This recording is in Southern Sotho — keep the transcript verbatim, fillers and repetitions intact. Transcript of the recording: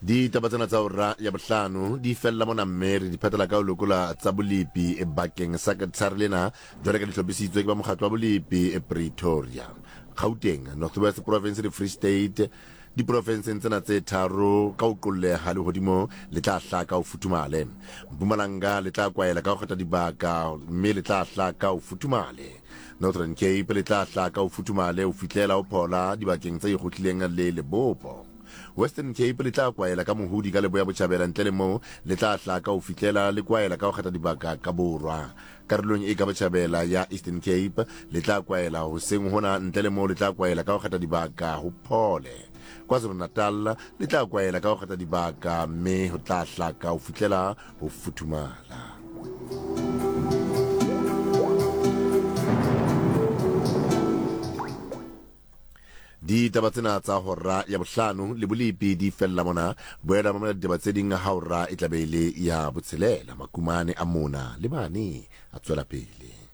Ditaba tsena tsa hora ya bohlano di fella mona, mme re di phetela ka ho lokola tsa bolepi bakeng sa tshare lena jwale ka di hlophisitswe ke ba mokgatlo wa bolepi Pretoria, Gauteng, North West Province le Free State. Diprofenseng tsena tse tharo ka ho qolleha lehodimo le tla hlaka ho futhumale. Mpumalanga le tla kwaela ka ho kgetha dibaka mme le tla hlaka ho futhumale. Northern Cape le tla hlaka ho futhumale ho fihlela ho phola dibakeng tse ikgohlileng le lebopo. Western Cape le tla kwaela ka mohudi ka leboya botjhabela, ntle le moo le tla hlaka ho fihlela le kwaela ka ho kgetha dibaka ka borwa. Karolong e ka botjhabela ya Eastern Cape le tla kwaela hoseng hona, ntle le moo le tla kwaela ka ho kgetha dibaka ho phole. KwaZulu-Natal le tla kwaela ka ho kgetha dibaka mme ho tla hlaka ho fihlela ho futhumala. Ditaba tsena tsa hora ya bohlano le bolepi di fella mona. Boela mamela ditaba tse ding ha hora e tla be e le ya botshelela. Makumane a mona le mane a tswela pele.